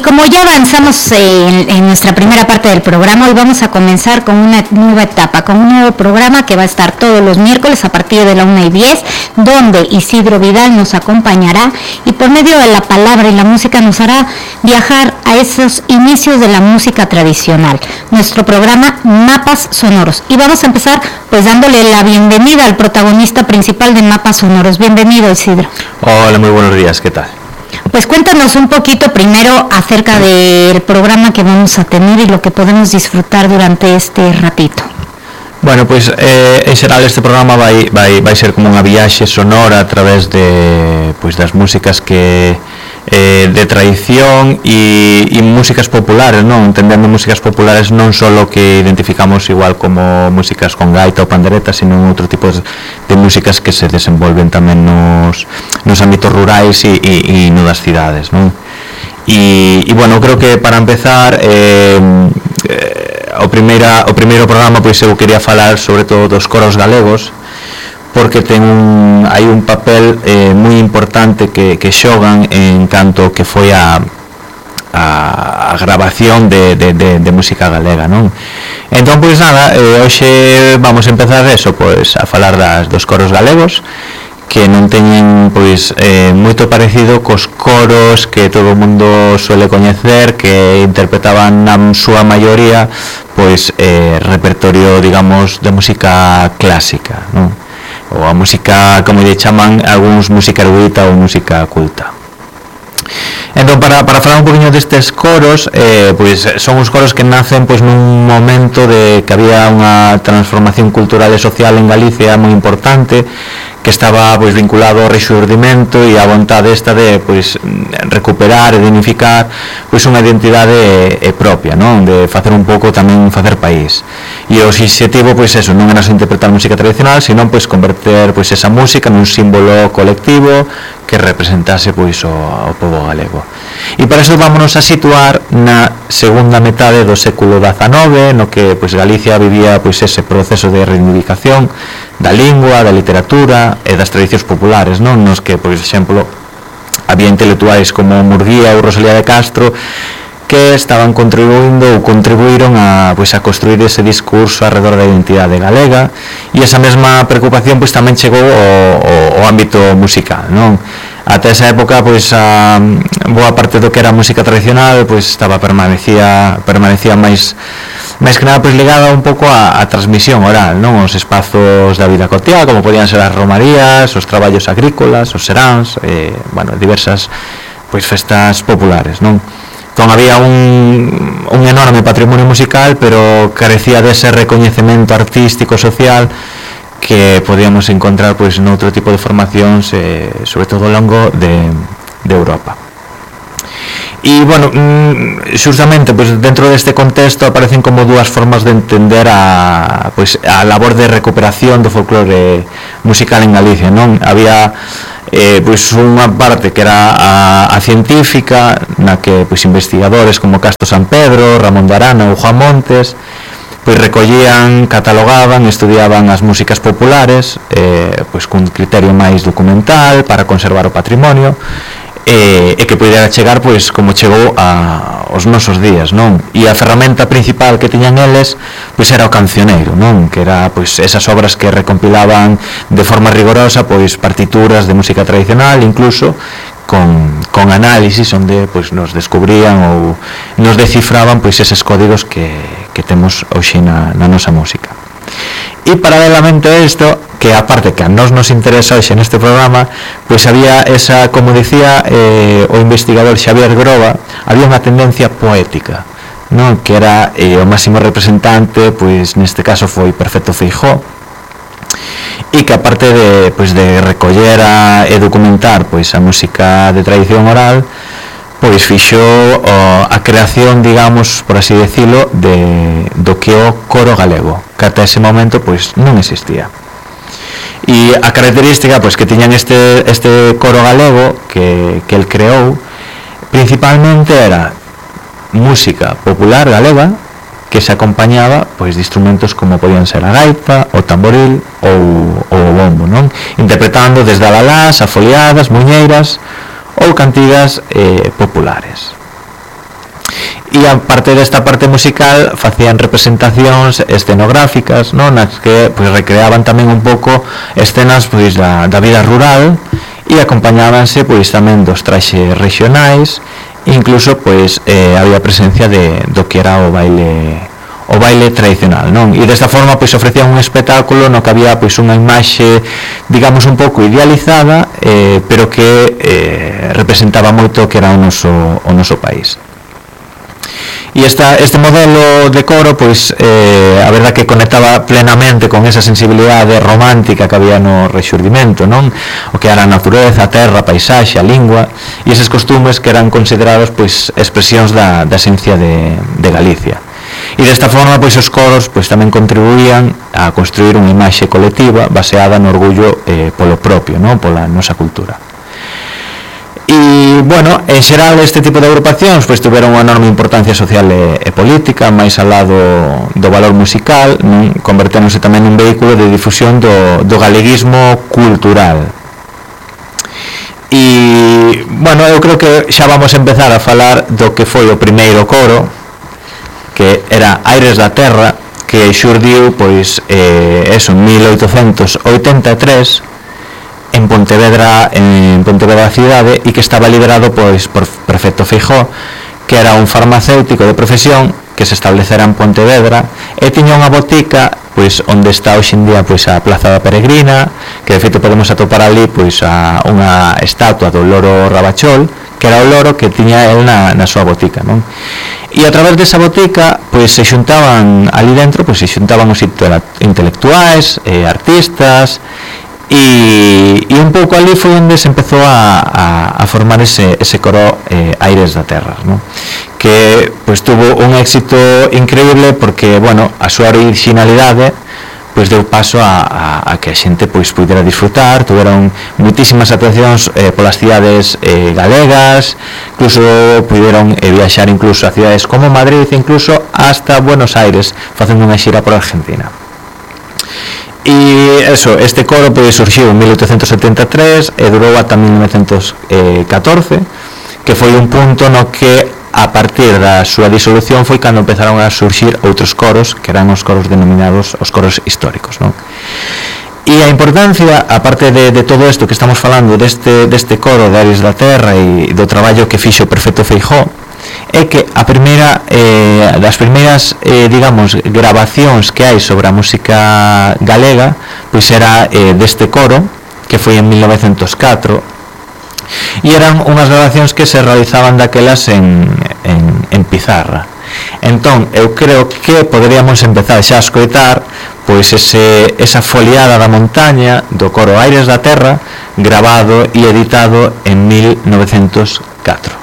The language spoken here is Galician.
como ya avanzamos en nuestra primera parte del programa, hoy vamos a comenzar con una nueva etapa, con un nuevo programa que va a estar todos los miércoles a partir de la 1:10, donde Isidro Vidal nos acompañará y por medio de la palabra y la música nos hará viajar a esos inicios de la música tradicional. Nuestro programa Mapas Sonoros. Y vamos a empezar pues dándole la bienvenida al protagonista principal de Mapas Sonoros. Bienvenido, Isidro. Hola, muy buenos días, ¿qué tal? Pues cuéntanos un poquito primero acerca del programa que vamos a tener y lo que podemos disfrutar durante este ratito. Bueno, pois en xeral este programa vai ser como unha viaxe sonora a través de pois das músicas que de tradición e músicas populares, non? Entendendo músicas populares non só que identificamos igual como músicas con gaita ou pandereta, sino outro tipo de músicas que se desenvolven tamén nos ámbitos rurais e no das cidades, non? E bueno, creo que para empezar o primeiro programa pois eu quería falar sobre todo dos coros galegos, porque hai un papel moi importante que xogan en canto que foi a grabación de música galega, non? Entón, pois nada, hoxe vamos a empezar eso, pois a falar dos coros galegos, que non teñen pois moito parecido cos coros que todo o mundo suele coñecer, que interpretaban na súa maioría pois repertorio, digamos, de música clásica, non? Ou a música, como lle chaman algúns, música erudita ou música culta. Entón, para falar un poquinho destes coros, pois son os coros que nacen pois nun momento de que había unha transformación cultural e social en Galicia moi importante, que estaba pois vinculado ao rexurdimento e á vontade esta de pois recuperar e dignificar pois unha identidade propia, non? De facer un pouco tamén facer país. E o obxectivo pois eso, non era só interpretar música tradicional, sino pois converter pois esa música nun símbolo colectivo que representase pois o pobo galego. E para iso vámonos a situar na segunda metade do século XIX, no que pois Galicia vivía pois ese proceso de reivindicación da lingua, da literatura e das tradicións populares, non? Nos que, por exemplo, había intelectuais como Murguía ou Rosalía de Castro que estaban contribuíron a construir ese discurso alrededor da identidade galega, e esa mesma preocupación pois tamén chegou ao ámbito musical, non? Ata esa época pois a boa parte do que era música tradicional pois permanecía máis que nada pois ligada un pouco á transmisión oral, non? Os espazos da vida cotiá, como podían ser as romarías, os traballos agrícolas, os seráns, diversas pois festas populares, non? Entón había un enorme patrimonio musical, pero carecía dese recoñecemento artístico social que podíamos encontrar pois noutro tipo de formacións, sobre todo ao longo de Europa. E, bueno, xustamente pois, dentro deste contexto aparecen como dúas formas de entender a labor de recuperación do folclore musical en Galicia, non? Había pois unha parte que era a científica, na que pois investigadores como Castro San Pedro, Ramón de Arana ou Juan Montes pois recollían, catalogaban, estudiaban as músicas populares pois cun criterio máis documental para conservar o patrimonio e que pudera chegar pois como chegou aos nosos días, non? E a ferramenta principal que tiñan eles pois era o cancioneiro, non? Que era pois esas obras que recompilaban de forma rigorosa pois partituras de música tradicional, incluso con análisis onde pois nos descubrían ou nos descifraban pois eses códigos que temos hoxe na nosa música. E paralelamente a isto, que aparte que a nos interesa hoxe neste programa, pois había esa, como dicía o investigador Xavier Groba, había unha tendencia poética, non? Que era o máximo representante, pois neste caso foi Perfecto Feijóo, e que aparte de recoller e documentar pois a música de tradición oral, pois fixo a creación, digamos, por así decirlo, do que o coro galego, que ata ese momento pois non existía. E a característica pois que tiñan este coro galego que el creou principalmente era música popular galega que se acompañaba pois de instrumentos como podían ser a gaita, o tamboril ou o bombo, non? Interpretando desde alalás, afoliadas, muñeiras ou cantigas populares. e aparte desta parte musical facían representacións escenográficas, non, nas que pois recreaban tamén un pouco escenas pois da vida rural e acompañábanse pois tamén dos traxes regionais, incluso pois había presencia do que era o baile tradicional, non? E desta forma pois ofrecían un espectáculo no que había pois unha imaxe, digamos, un pouco idealizada, pero que representaba moito o que era o noso país. E este modelo de coro, pois, a verdad que conectaba plenamente con esa sensibilidade romántica que había no rexurdimento, non? O que era a natureza, a terra, a paisaxe, a lingua, e eses costumes que eran considerados, pois, expresións da esencia de Galicia. E desta forma, pois, os coros, pois, tamén contribuían a construir unha imaxe colectiva baseada no orgullo polo propio, non? Pola nosa cultura. E, bueno, en xeral este tipo de agrupacións pois tuveron unha enorme importancia social e política, máis ao lado do valor musical, converténdose tamén nun vehículo de difusión do galeguismo cultural. E, bueno, eu creo que xa vamos a empezar a falar do que foi o primeiro coro, que era Aires da Terra, que xurdiu pois en 1883 en Pontevedra cidade, e que estaba liderado pois por Prefecto Feijóo, que era un farmacéutico de profesión que se establecera en Pontevedra e tiña unha botica pois onde está hoxe en día pois a Plaza da Peregrina, que de feito podemos atopar ali pois unha estatua do loro Rabachol, que era o loro que tiña el na súa botica, non? E a través desa botica pois se xuntaban ali dentro, pois se xuntaban os intelectuais, artistas, e un pouco ali foi onde se empezou a formar ese coro Aires da Terra, ¿no? Que pois tuvo un éxito increíble porque, bueno, a súa originalidade pois deu paso a que a xente pois pudera disfrutar. Tuveron muitísimas actuacións polas cidades galegas, incluso puderon viaxar incluso a cidades como Madrid, incluso hasta Buenos Aires, facendo unha xira por Argentina. E eso, este coro pois surxiu en 1873 e durou ata 1914, que foi un punto no que a partir da súa disolución foi cando empezaron a surxir outros coros, que eran os coros denominados os coros históricos, non? E a importancia, aparte de todo isto que estamos falando deste coro de Aires da Terra e do traballo que fixo o Prefecto Feijóo, é que a primeira das primeiras digamos grabacións que hai sobre a música galega pois era deste coro, que foi en 1904, e eran unhas grabacións que se realizaban daquelas en pizarra. Entón eu creo que poderíamos empezar xa a escoitar pois esa foliada da montaña do coro Aires da Terra, grabado e editado en 1904.